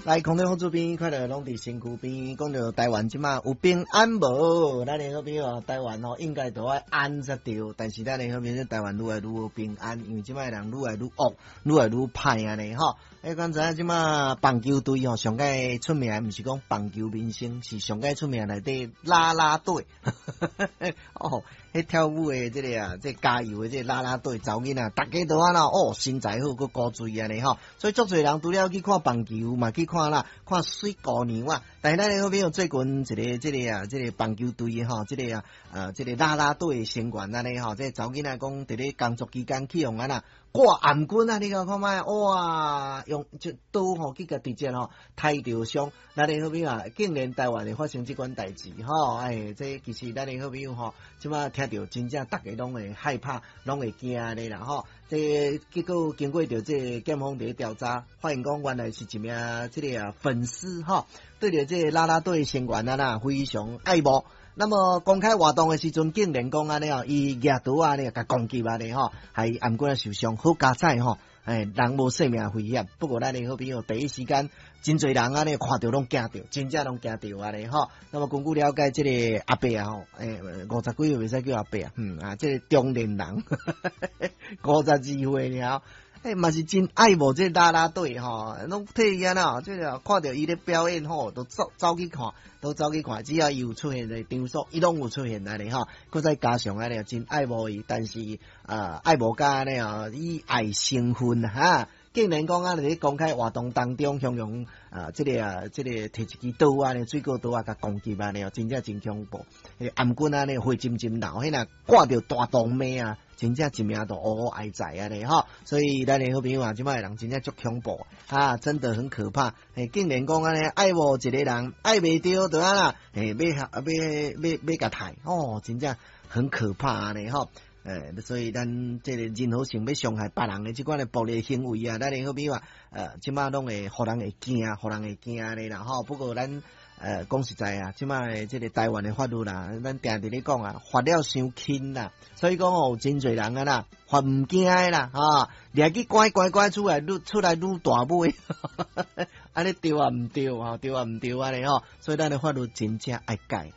來空中好邊，快樂攏佇身軀邊。講著台灣這馬有平安無？咱的好朋友台灣吼，應該都愛安才對。但是咱的好朋友台灣愈來愈無平安，因為這馬人愈來愈惡，愈來愈歹按呢吼。欸，敢知影這馬棒球隊吼，上蓋出名，毋是講棒球明星，是上蓋出名內底啦啦隊。哦，彼跳舞的這个啊，這加油的這個啦啦隊，查某囡仔，逐家都按怎哦，身材好，閣古錐按呢吼。所以足濟人除了去看棒球，嘛去看啦，看媠姑娘啊。但是咱的好朋友最近一个這个啊，這个棒球隊吼，這个啊，這个啦啦隊的成員按呢吼，這個查某囡仔講佇咧工作期間去予按怎掛頷頸啊，你看看覓，哇，用這刀吼去共直接吼刣著傷。咱的好朋友啊，竟然台灣會發生這款代誌吼，哎，這其實咱的好朋友吼，這馬聽著真正逐家攏會害怕，攏會驚的啦吼。這結果經過著這個檢方佇咧調查，發現講原來是一名這个啊粉絲吼，對著這個啦啦隊成員啊啦非常愛慕。那麼公開活動的時陣，竟然講按呢哦，伊舉刀按呢，共攻擊按呢吼，害頷頸受傷，好佳哉吼，哎，人無性命危險。不過咱的好朋友第一時間，真濟人按呢看著攏驚著，真正攏驚著按呢吼。那麼根據了解，這個阿伯啊吼，欸，五十幾歲袂使叫阿伯啊，啊，這個中年人，52歲爾。欸，嘛是真愛慕這啦啦隊吼，攏替伊按怎，這個看著伊咧表演吼，都走走去看，都走去看，只要伊有出現的場所，伊攏有出現按呢吼。閣再加上按呢，真愛慕伊，但是啊，愛慕甲按呢哦，以愛生恨哈。竟然講啊，佇咧公開活動當中，形容啊，這个啊，這个提一支刀按呢，水果刀啊，共攻擊按呢，真正真恐怖。彼个頷頸按呢，血津津流，彼若掛著大動脈啊，真正一命都烏烏哀在按呢吼。所以咱的好朋友啊，這擺的人真正足恐怖啊，真的很可怕。欸，竟然講按呢，愛慕一個人，愛袂著，就按怎，欸，欲欲欲欲共刣哦，真正很可怕按呢吼。欸，所以咱這个任何想欲傷害別人的這款的暴力行為啊，咱的好朋友啊，這擺攏會予人會驚，予人會驚的啦吼。不過咱講實在啊，這擺的這个台灣的法律啦，咱定定咧講啊，罰了傷輕啦，所以講哦，有真濟人啊啦，罰毋驚的啦，哈，掠去關關關出來，愈出來愈大尾，按呢對抑毋對吼，對抑毋對按呢吼，所以咱的法律真正愛改。